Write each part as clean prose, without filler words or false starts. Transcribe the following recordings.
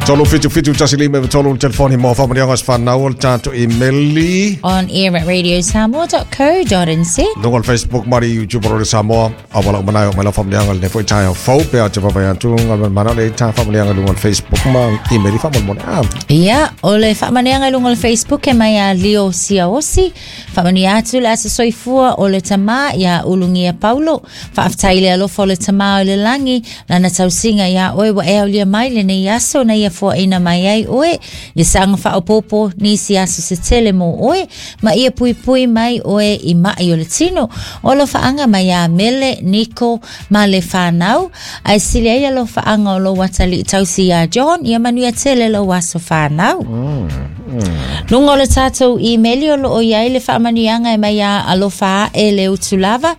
377 15 93 le telefoni mo faamanuiaga o aso fanau o le tatou imeli. On air at radiosamoa.co.nz. Luga o le Facebook ma le YouTube o Radio Samoa. Auala uma na e oo mai lau faamanuiaga i lenei foi taeao fou pe a ou te vaavaai atu Galumalemana o le ta faamanuiaga i luga o le Facebook ma imeli faamolemole. Ah. Ia, o le faamanuiaga i luga o le Facebook e mai ia Leo Siaosi. Faamanuia atu le aso soifua o le tama iā Ulugia Paulo. Faafetai i le alofa o le Tama o le lagi, lana tausiga iā oe ua e aulia mai lenei aso na ia foaina mai ai oe, ia saga faaopoopo nisi aso se tele mo oe, ma ia puipui mai oe i maʻi o le tino. O alofaaga mai iā Mele, Niko, ma le fanau, ae sili ai alofaaga o lou atalii tausi iā John, ia manuia tele lou aso fanau. Luga o le tatou imeli o loo i ai le faamanuiaga e mai iā Alofa Ae le Utu Lava.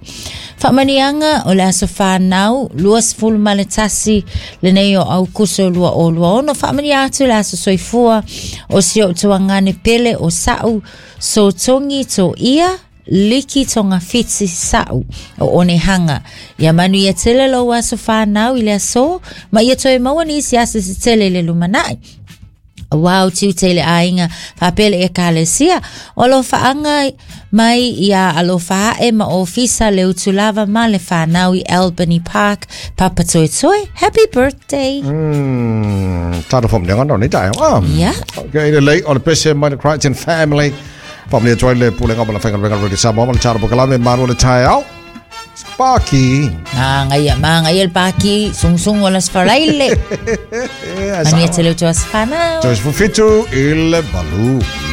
Faamanuiaga o le aso fanau 21 lenei o Aukuso 2026. Faamanuia atu le aso soifua o si ou tuagane pele o sa'u Sotogi Toia Liki Togafiti sa'u o Onehanga. Ia manuia tele lou aso fanau i le aso ma ia toe maua nisi aso se tele i le lumanai. Aua o tiute i le aiga faapea le Ekalesia. O alofaaga mai iā Alofa Ae ma Ofisa le Utu Lava ma le whanau i Albany Park, Papatoetoe. Happy birthday! Talo faamanuiaga na o nei taeao. Ah. Yeah. Okay, lelei o le pese mai le Crichton family. Faamanuia atu ai le Pulega ma le Faigaluega Radio Samoa ma le Talo Pokalame malu o le taeao. Paki. Magaia, magaia le paki, sungsungu o le aso Faraile. Manuia tele o tou aso fanau. 37 i le 8.